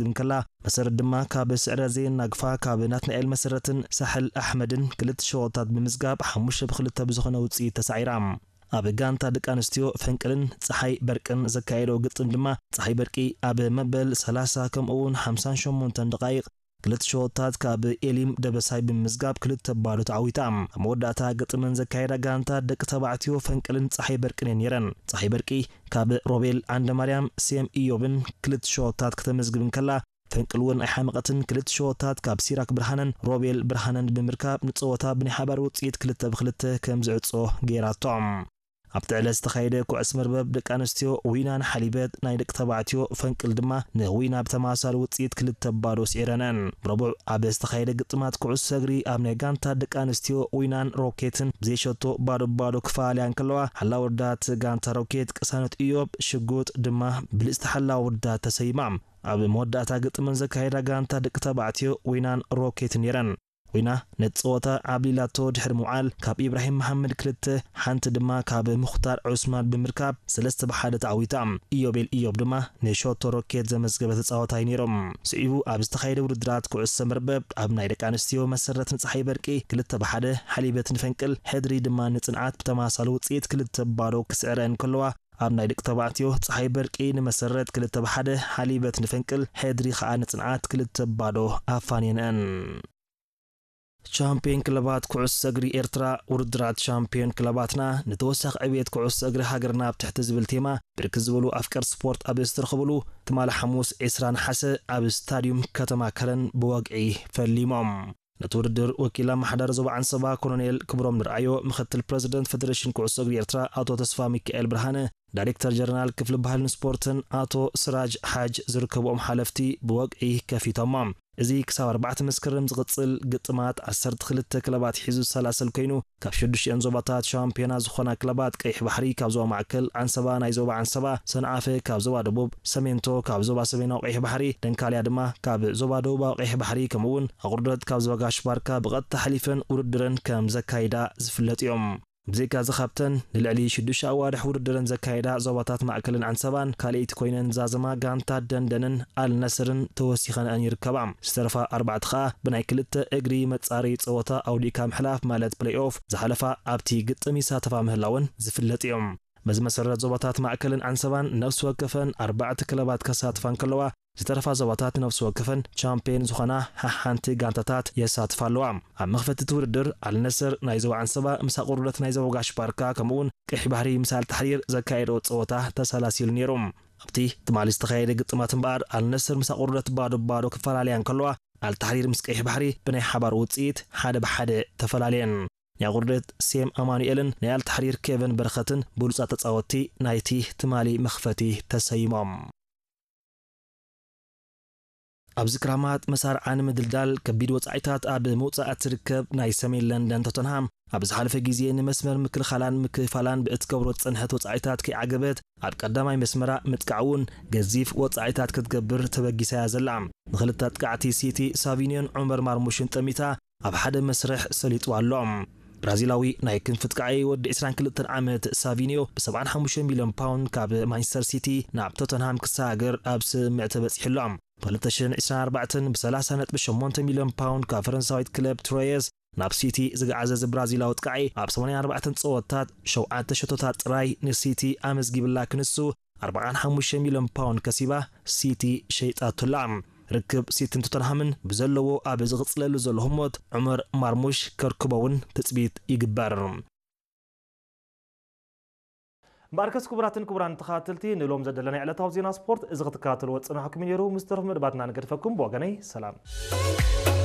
ክትመዝግብ እንከላ፣ መሰረት ድማ ካብ ስዕረት ዘየናግፋ ካብ ናትናኤል መሰረትን ሳሕል ኣሕመድን ክልተ ሸወታት ብምዝጋብ ሓሙሽተ ብክልተ ብዝኾነ ውፅኢት ተሳዒራ። ኣብ ጋንታ ደቂ ኣንስትዮ ፈንቅልን ፀሓይ በርቅን ዘካየደው ግጥም ድማ ፀሓይ በርቂ ኣብ መበል ሰላሳ ከምኡ እውን ሓምሳን ሸሞንተን ደቃይቕ ክልተ ሸወታት ካብ ኤሊም ደበሳይ ብምምዝጋብ ክልተ ባዶ ተዓዊታ። ኣብ መወዳእታ ግጥመን ዘካየዳ ጋንታ ደቂ ተባዕትዮ ፈንቅልን ፀሓይ በርቅን እየን ነይረን። ፀሓይ በርቂ ካብ ሮቤል ዓንደማርያም፣ ሴም ኢዮብን ክልተ ሸወታት ከተመዝግብ እንከላ፣ ፈንቅል እውን ኣይሓመቐትን። ክልተ ሸወታት ካብ ሲራክ ብርሃነን ሮቤል ብርሃነን ብምርካብ ንፀወታ ብናይ ሓባር ውፅኢት ክልተ ብክልተ ከም ዝዕጾ ገይራቶ። ኣብቲ ዕለት ዝተኻየደ ኩዕስ መርበብ ደቂ ኣንስትዮ ዊናን ሓሊበት ናይ ደቂ ተባዕትዮ ፈንቅል ድማ ንዊና ብተመሳሳሊ ውፅኢት ክልተ ባዶ ስዒረነን። ረቡዕ ኣብ ዝተኻየደ ግጥማት ኩዕሶ እግሪ ኣብ ናይ ጋንታ ደቂ ኣንስትዮ ዊናን ሮኬትን ብዘይሸቶ ባዶ ባዶ ክፈላለያ እንከለዋ፣ ሓላዊ ወዳት ጋንታ ሮኬት ቅሳነት ኢዮብ ሽጉጥ ድማ ብልፅቲ ሓላዊ ወዳት ተሰይማ። ኣብ መወዳእታ ግጥመን ዘካየዳ ጋንታ ደቂ ተባዕትዮ ዊናን ሮኬትን ነይረን። ዊና ነቲ ጸወታ ዓብሊላቶ ድሕሪ ምውዓል፣ ካብ ኢብራሂም መሓመድ ክልተ፣ ሓንቲ ድማ ካብ ሙኽታር ዑስማን ብምርካብ ሰለስተ ብሓደ ተዓዊታ። ኢዮቤል ኢዮብ ድማ ንሾቶ ሮኬት ዘመዝገበ ተጻዋታይ ነይሮም። ስዒቡ ኣብ ዝተኻየደ ውድድራት ኩዕሶ መርበብ ኣብ ናይ ደቂ ኣንስትዮ መሰረት ንጸሓይ በርቂ ክልተ ብሓደ ሓሊበት ንፈንቅል፣ ሕድሪ ድማ ንጽንዓት ብተመሳሳሊ ውጽኢት ክልተ ባዶ ክስዕረን ከለዋ፣ ኣብ ናይ ደቂ ተባዕትዮ ጸሓይ በርቂ ንመሰረት ክልተ ብሓደ ሓሊበት ንፈንቅል፣ ሕድሪ ኸኣ ንጽንዓት ክልተ ባዶ ኣፋንየንአን። ቻምፒዮን ክለባት ኩዕሶ እግሪ ኤርትራ፣ ውድድራት ቻምፒዮን ክለባትና ንተወሳኺ ዕብየት ኩዕሶ እግሪ ሃገርና ኣብ ትሕቲ ዝብል ቴማ፣ ብርክት ዝበሉ ኣፍቀርቲ ስፖርት ኣብ ዝተረኸብሉ፣ ትማሊ ሓሙስ ዕስራ ነሓሰ ኣብ ስታድዩም ከተማ ከረን ብወግዒ ፈሊሞም። ነቲ ውድድር ወኪል ኣመሓዳሪ ዞባ ዓንሰባ ኮሎኔል ክብሮም ንርኣዮ፣ ምክትል ፕረዚደንት ፌደሬሽን ኩዕሶ እግሪ ኤርትራ ኣቶ ተስፋ ሚካኤል ብርሃነ፣ ዳይሬክተር ጀነራል ክፍሊ ባህልን ስፖርትን ኣቶ ስራጅ ሓጅ ዝርከብኦም ሓለፍቲ ብወግዒ ከፊቶሞ። እዚ ክሳብ ኣርባዕተ መስከረም ዝቕጽል ግጥማት ዓሰርተ ክልተ ክለባት ሒዙ ዝሰላሰል ኮይኑ፣ ካብ ሽዱሽተን ዞባታት ሻምፒዮና ዝኾና ክለባት ቀይሕ ባሕሪ ካብ ዞባ ማእከል፣ ዓንሰባ ናይ ዞባ ዓንሰባ፣ ሰንዓፈ ካብ ዞባ ደቡብ፣ ሰሜንቶ ካብ ዞባ ሰሜናዊ ቀይሕ ባሕሪ፣ ደንካልያ ድማ ካብ ዞባ ደቡባዊ ቀይሕ ባሕሪ፣ ከምኡ እውን ኣቑርደት ካብ ዞባ ጋሽ ባርካ ብቐጥታ ሓሊፈን ውድድረን ከም ዘካይዳ ዝፍለጥ እዮም። ብዘይካ እዚ ካብተን ንልዕሊ ሽዱሽተ ኣዋርሕ ውድድረን ዘካየዳ ዞባታት ማእከልን ዓንሰባን ካልኣይቲ ኮይነን ዝዛዘማ ጋንታ ደንደንን ኣልነስርን ተወሲኸንአን ይርከባ። ዝተረፋ ኣርባዕተ ኸኣ ብናይ ክልተ እግሪ መጻረዪ ጸወታ ኣውዲእካ ምሕላፍ ማለት ፕሌይ ኦፍ ዝሓለፋ ኣብቲ ግጥም ይሳተፋ ምህላወን ዝፍለጥ እዮም። በዚ መሰረት ዞባታት ማእከልን ዓንሰባን ነፍሲ ወከፈን ኣርባዕተ ክለባት ከሳትፋ እንከለዋ ዝተረፋ ዞባታት ነፍሲ ወከፈን ቻምፒየን ዝኾና ሓሓንቲ ጋንታታት የሳትፋ ኣለዋ። ኣብ መኽፈቲ እቲ ውድድር ኣልነስር ናይ ዞባ ዓንሰባ ምስ ኣቑርደት ናይ ዞባ ጋሽ ባርካ ከምኡውን ቀይሕ ባሕሪ ምስ ኣልታሕሪር ዘካየደኦ ጸወታ ተሰላሲሉ ነይሩ። ኣብቲ ትማሊ ዝተኻየደ ግጥማት እምበኣር ኣልነስር ምስ ኣቑርደት ባዶ ባዶ ክፈላለያ እንከለዋ ኣልታሕሪር ምስ ቀይሕ ባሕሪ ብናይ ሓባር ውጽኢት ሓደ ብሓደ ተፈላለየን። ናይ ኣቑርደት ሴም ኣማኑኤልን ናይ ኣልታሕሪር ኬቨን በረኸትን ብሉጻት ተጻወትቲ ናይቲ ትማሊ መኽፈቲ ተሰይሞም። ኣብዚ ክራማት መሳርዓ ንምድልዳል ከቢድ ወጻኢታት ኣብ ምውጻእ እትርከብ ናይ ሰሜን ለንደን ቶተንሃም፣ ኣብ ዝሓለፈ ግዜ ንመስመር ምክልኻላን ምክፋላን ብእትገብሮ ዝጸንሐት ወጻኢታት ከይዓገበት፣ ኣብ ቀዳማይ መስመራ ምጥቃዕ እውን ገዚፍ ወጻኢታት ክትገብር ተበጊሳ እያ ዘላ። ንኽልተ ኣጥቃዕቲ ሲቲ ሳቪኒዮን ዑመር ማርሙሽን ጠሚታ ኣብ ሓደ መስርሕ ሰሊጡ ኣሎ። ብራዚላዊ ናይ ክንፊ ኣጥቃዒ ወዲ ዕስራን ክልተን ዓመት ሳቪኒዮ ብ75 ሚልዮን ፓውንድ ካብ ማንቸስተር ሲቲ ናብ ቶተንሃም ክሰጋገር ኣብ ስምምዕ ተበጺሑ ኣሎ። ብ2024 ብ30.8 ሚልዮን ፓውንድ ካብ ፈረንሳዊት ክለብ ትሮየስ ናብ ሲቲ ዝገዓዘ እዚ ብራዚላዊ ኣጥቃዒ ኣብ 84 ጸወታት ሸውዓተ ሸቶታት ጥራይ ንሲቲ ኣመዝጊብላ ክንሱ 45 ሚልዮን ፓውንድ ከሲባ ሲቲ ሸይጣቶላ። ርክብ ሲትን ቶተንሃምን ብዘለዎ ኣብ ዝቕጽለሉ ዘሎ ህሞት ዑመር ማርሙሽ ከርክቦ እውን ትጽቢት ይግበር። እምበኣርከስ ክቡራትን ክቡራን ተኸታተልቲ ንሎም ዘደለና ዕለታዊ ዜና ስፖርት እዚ ክትከታተልዎ ዝጸናሕኩም እዩ ነይሩ። ምስ ተረፉ መደባትና ንገድፈኩም። ብወገነይ ሰላም።